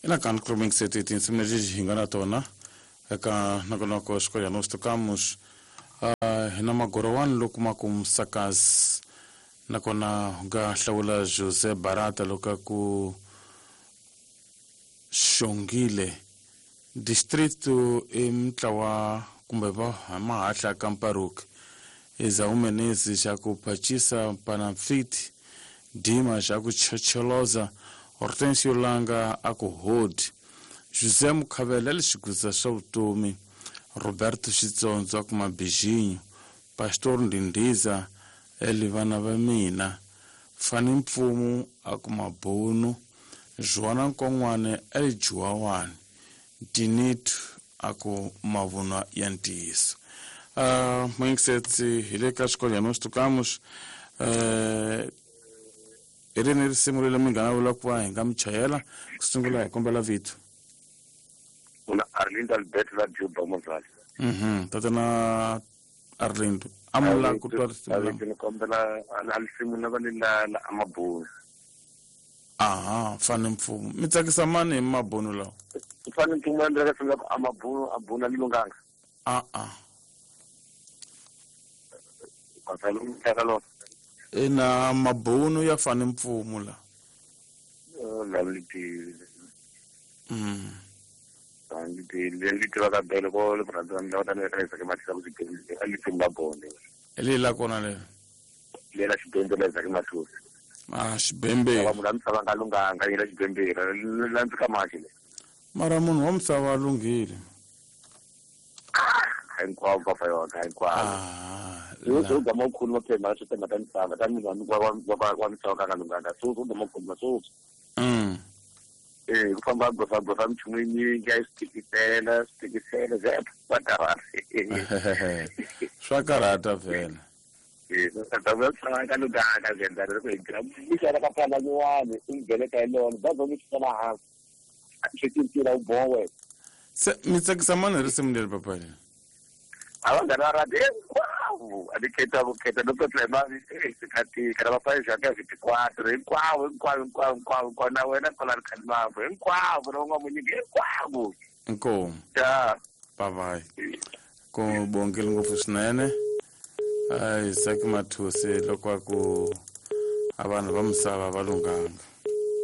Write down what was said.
Ina kan kroming seti tinsimu leti hi nga na tona eka nongonoko Escolha Nós Tocamos. Hi na magorowani loko ma ku musakazi nakona u nga hlawula José Barata loko a ku Xongile distrito i mutlawa kumbe va mahahla ka Mparuki Esaú Menezes xa ku Pachisa Panamfiti Dima xa ku Chocholoza Hortensio Langa a ku Hodi José Mukhavela le xigudza swa vutomi Roberto Xitsondzo a ku Mabijinyo Pastor Ndindiza eli vana va mina Fani Mpfumu a ku Mabunu Joana Nkon'wane eli Juwawani Dinitu a ku mavunwa ya ntiyiso. Moyingisetsi hi le ka Escolha Nós Tocamos. Hi rini risimu leri mi nga na vula ku va hi nga mi chayela ku sungula hi kombela vito? Una Arlindo Alberto la Juba Mozali. Tatana Arlindo, amula ku twa risimu la. Ni kombela risimu la va le la la Amabunu. Aha, Fani Mpfumo. Mi tsakisa mani hi mabunu lawa? Fani Mpfumo endla ka sungula ku Amabunu abuna li lunganga. A a. Kwasalo mtaka lo. Ina mabunu ya Fani Mpfumo la. Lovely day. Ndi tiva ka bele ko le brother nda ta le resa ke matisa ku xibedhlele a li tsimba bone. Le la kona le. Le la xibedhlele la ka mathusi. Ah, xibembe. Va munhu wa misava nga lunghanga yela xibembe la ndzi ka maki le. Mara munhu wa misava lunghile. Hinkwavo va fa yona hinkwavo. Ah. So ga mo khulu ma phema swi tema ta misava ta munhu wa misava ka nga lunghanga. So so ga mo khulu so. Ku famba gofa gofa minchumu yinyingi a yi swi tikisela swi tikisela ze va karhata. Swa karhata vhele. Ka lunghanga zwi endla loko hi gira mixana ka phana nyuwani i ngheneka hi lona bazi mi xitela hansi swi cincile wu boha wena. Se mi tsakisa mani hi risimu leri papa leri? A va nga ri radi hinkwavo a ni khetha ku khetha no petla hi mali swi na vafayisi ya ka vitikwatro hinkwavo hinkwavo hinkwavo hinkwavo hinkwavo na wena kwala ri khalimambo hinkwavo na un'wamunyiki hinkwavo. Inkomu. Ya. Bye bye. Ku bongile ngopfu swinene. Isaac Mathusi loko a ku a vanhu va misava va lunghanga.